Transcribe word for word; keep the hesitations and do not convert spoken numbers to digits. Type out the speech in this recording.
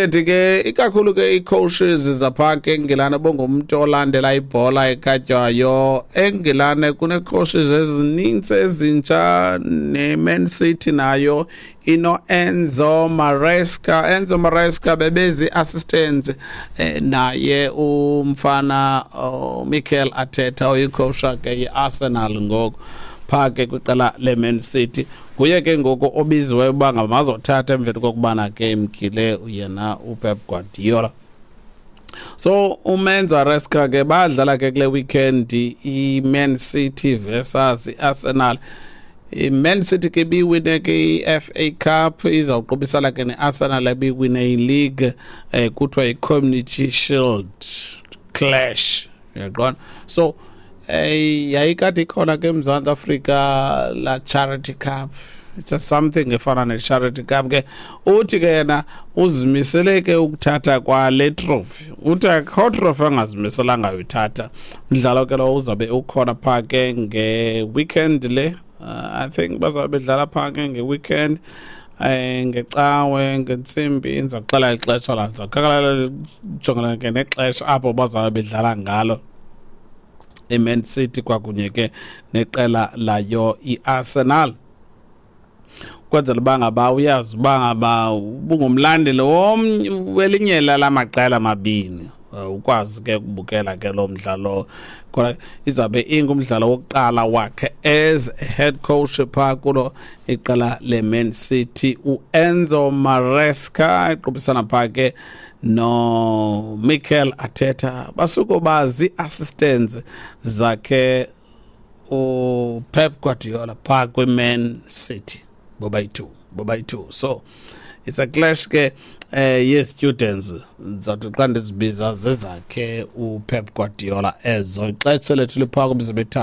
Ethi ke ikakhulu ke ii-coaches zapha ke eNgilane, bongumntu olandela ibhola ekhatywayo eNgilane, kunee-coaches ezinintsi ezintsha. Ne-Man City nayo ino-Enzo Maresca. Enzo Maresca bebezi-assistants eh, naye umfana oh, Mikel Arteta, oyi-coach ke ye-Arsenal ngoku phaa ke kwiqela le-Man City. Nguye ke ngoku obiziweyo uba ngamazothatha emveni kokubana ke emkile yena uPep Guardiola. So uEnzo Maresca ke badlala ke kule weekend i-Man City versus i-Arsenal. I-Man City ke ibiwine ke i-F A Cup, izawuqubisana ke ne-Arsenal ebiwine i-league, eh kuthiwa i-Community Shield clash, uyaqonda? So eh yayikade ikhona ke eMzantsi Afrika la Charity Cup. It's a something efana ne-Charity Cup ke. Uthi ke yena uzimisele ke ukuthatha kwale trophy, uthi akho trophy angazimiselanga uyithatha. Umdlalo ke lo uzabe ukhona phaa ke nge-weekend le. uh, I think bazabe bedlala phaa ke nge-weekend, eh ngecawe ngentsimbi. Ndiza kuxela ixesha la, ndiza jongana ke nexesha apho bazabe bedlala ngalo iMan City kwakunye ke neqela layo iArsenal, kwenzela uba ngaba uyazi uba ngaba ubungumlandeli womnye welinye lala maqela mabini, ukwazi ke ukubukela ke lo mdlalo khona. Izabe ingumdlalo wokuqala wakhe as a head coach phaa kulo iqela le-Man City, uEnzo Maresca, equbisana phaa ke no Mikel Arteta. Basuke bazi-assistants zakhe uPep Guardiola phaa kwi-Man City bobayi-two bobayi-two So it's a clash ke eh ye-students, ndizawuthi xa ndizibiza zezakhe uPep Guardiola ezo. Ixesha lethu liphaa kwimizuzu emithathu.